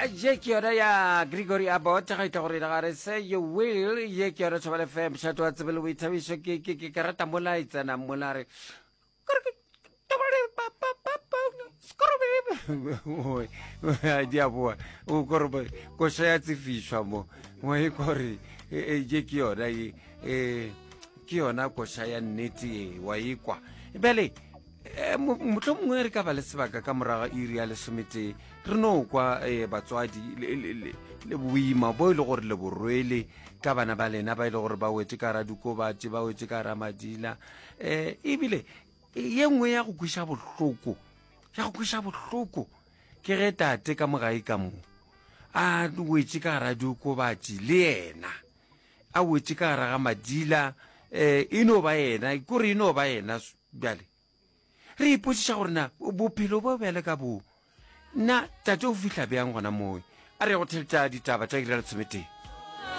Ye ke yona ya Gregory Abbott ga ita gore ga re say you will. Ye ke yona Thobela FM mošate wa tsebo le boithabišo. Ke ke ke ke rata mola e tsena mola re di a boa o kore koša ya tsefišwa mo mo e kore ye ke yona ye ke yona koša ya nnete ye wa ekwa bjale Eh, motlho mongwe re ka ba le sebaka ka morago iri ya lesometee re no kwa eh, batswadi le boima bo e le gore le borwele ka bana ba lena ba e le gore ba wetse ka radikobatše ba wetse ka ramadila um ebile ye nngwe ya go kweša bohloko ya go kweša bohloko ke ge tate ka mogae ka mo a wetse ka radikobatše le yena a wetse ka gara ga madila um e no ba yena kore e no ba yena Bjale, re ipotšiša gore na bophelo bo bjale ka bo, na tate o fihla bjang gona mowe? A re ye go theletša ditaba tša iri ya lesometee.